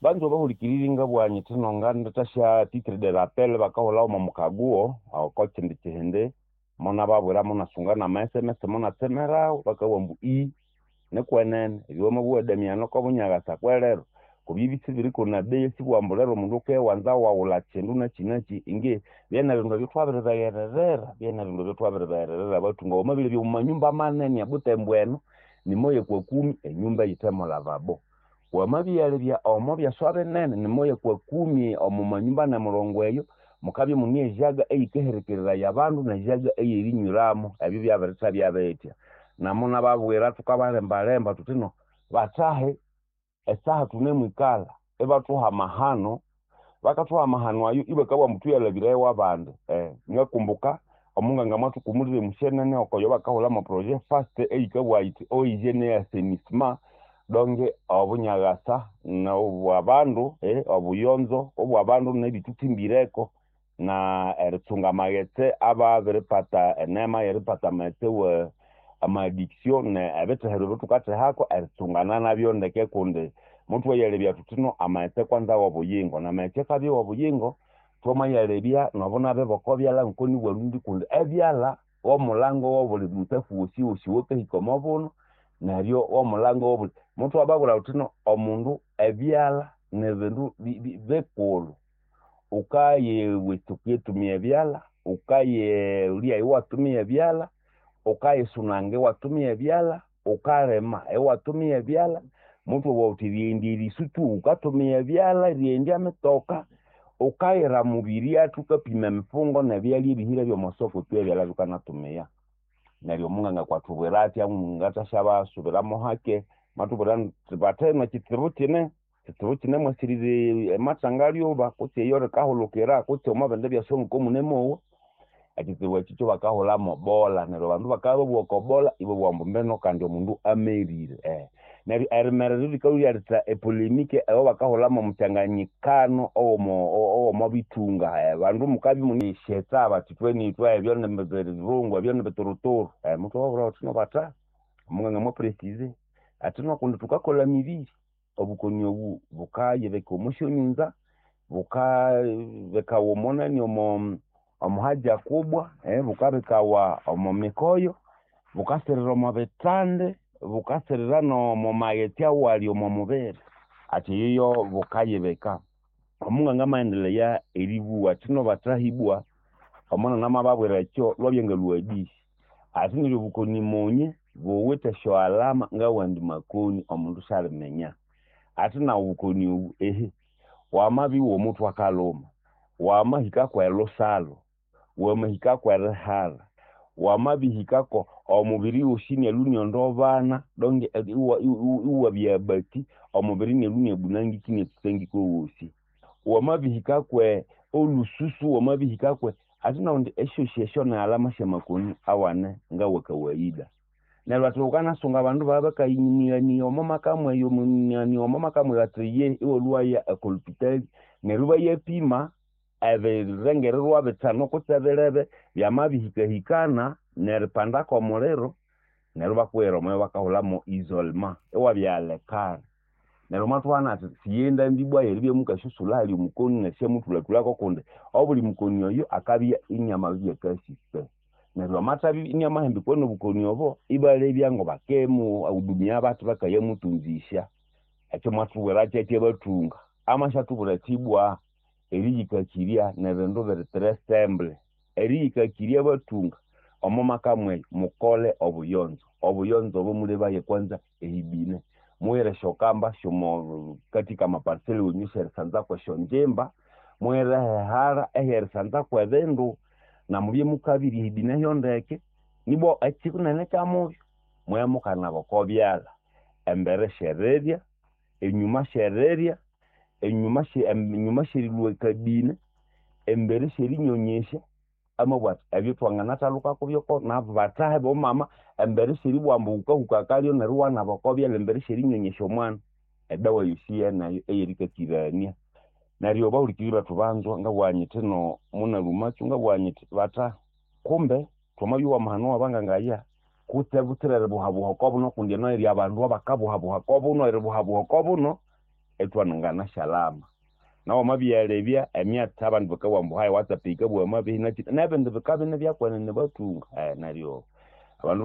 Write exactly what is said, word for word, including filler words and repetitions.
Banza bahulikiriri ngabugha nyithi nongandithasya titre de rappel bakahulhawo omo mukaguo oko kindi kihindi munababwira munasunga nama S M S munatsemerawo bakabugha ambu ii nikwenene ebyo wamabugha Damiano kobunyagasa kwelero kubya ibisibiriko na bei sibugha ambu lero omundu wukiwanza waghulha kyindu nakyi nakyi inge byene bindu ebyo thwabiribeghererera byene bindu ebyo thwabiribeghererera bathunga wamabilhabya omwa manyumba manene ebutembo eno nimoya kwa kumi enyumba eyithe mo lavabo wamabyalebya omo byaswa binene nimoya kwa kumi omo manyumba nemurongo eyo mukabya imune ejaga eyikaherekereraya abandu nejaga eyerinywiramo ebyo byabirithabya bithya namunababwira thukabalembalemba thuthi no bathahe esaha thunemwikalha ibathuha amahano bakathuha amahano ayo ibakabugha ambu thuyalhabirayo abandi eh ngakumbuka omunganga mwathukumulira emusyenene okoyo bakahulhamo projet fast eyikabugha yithi eau hygiène et assainissement donge obunyagasa nobwabandu eh obuyonzo obwabandu nebithuthimbireko na eritsunga amaghetse ababiripata enema yeripata amaghetse wa ama addiction ebithehero ebithukathehako eritsungana nabyo ndeke kundi muthwayalebya thuthi no amaghetse kwanza wobuyingo namaghetse akabya wobuyingo thwamayalebya nobunabi bokobyalha ngoko kundi ebyalha womulango wobuli mutsafu wosi wosi owakahika omobuno neryo womulango wobuli muthwababwira thuthi no omundu ebyalha nibindu bikulhu wukayiwitsuka iwatumia ebyalha wukayilya iwatumia ebyalha wukayisunanga iwatumia ebyalha wukalima iwatumia ebyalha muthwabugha thuthi erighendya erisu tu wukatumia ebyalha erighendya emitoka wukayira mubirya wukapima emifungo nebyalya ebihire byomwasoko tu ebyalha bikanatumia neryo omunganga akwathubwira athya ngathasya hake mathubwira athi bathahenu ekitsibu kine ekitsibu kinemwasirire amathangalyuba kutse eyo rikahulukira kutse omwabindi byaswa ngoko munemowa ekitsibu ekyo kyabakahulhamu bola neryo abandu bakabya babugha oko bola ibabugha ambu mbino kandi omundu amerire eh neryo erimerera likalhwa lyaletha epolemike eyabakahulhamu omukyanganyikano owomo owomobithunga abandu mukabya imunesyetha bathi ithwe ebyo nibirungu ebyo nibituruturu muthwababwira thuthi no batha omunganga mwa preciser athi no kundi thukakolha emibiri obukoni obu bukayibika omwa syonyunza bukabikawa omonani omo omohaja kubwa bukabikawa omo mikoyo bukasirira omo bithandi bukasirira nomo maghetse awali omo mubiri athi eyoyo bukayibika omunganga amaghendelheya eribugha athi no bathahibwa omunene amababwira ekyo lwabya ngalhwa hadisi athi neryo obukoni munye buwithe esyo alama ngawandi makoni omundu syaliminya athi nawu obukoni obu ehe wamabya iwomuthwe akalhuma wamahika kwelhusalho wamahika kwerihalha wamabihikako omubiri wosi inalhwa iniondobana donge iwabya abati omubiri inalhwa iniabunangika iniatsutsangika owosi wamabihika kwe olhususu wamabihika kwe athi nakundi esyosi esyo ni alama syamakoni awane ngawa kawaida neryo athi wukanasunga abandu babya bakayinighania omo maka mweyo omo maka mweyo athi ye iwalhwaya oko lhupitali neryo ibayapima ebirengererwa bithanu kutse bilebe byamabihikahikana neripanda kwomuliro neryo ibakughira omo bakahulhamu isolement iwabyalekana neryo mwathuhana athi siyendambi ibwa yeribya mukasyasulha ahali omukoni nerisyamuthulhathulhako kundi obuli mukoni oyo akabya iniamabibya akasike neryo amathabya iniamahambikwa nobukoni obo ibalebya ngobakemuhudumia bathi bakayamutunzisya ekyo mwathubwira kyekyo abathunga amasyathubwira athi ibwa eriyikakirya nibindu biri très simple eriyikakirya abathunga omo maka mweyo mukole obuyonzo obuyonzo obo mulebaye kwanza ehibine mughire esyokamba syomo katika amaparcela wenyu syerisanzako esyonjimba mughire ehehara ehyerisanzako ebindu namubye mukabirya ehibine hyondeke nibwa ekyinene kyamubyo mwe mukanaba oko byalha embere syerirya enyuma syerirya enyuma enyuma syerilhwa ekabine embere syerinyonyesya amabugha athi ebyo thwanganathalhuka kubyoko nabathahe bomama embere syeribugha ambu wukahuka akalyo neryo iwanaba oko byalha embere syerinyonyesya omwana edawa yosi yeneyo eyerikakirania neryo bahulikiriri bethu banzwa ngabugha nyithi no munalhumakyo ngabugha nyithi batha kumbe thwamabya wamahano wabangangaya kutse butsira eribuhabuha okobuno kundi eno eri abandu abakabuhabuha okobuno eribuhabuha okobuno ithwanganashalama. Nawu wamabyalebya emyatsi abandu bakabugha ambu hayi WhatsApp yikabugha amabehi nakyi nebindi bikabya inibya kwenene bathunga neryo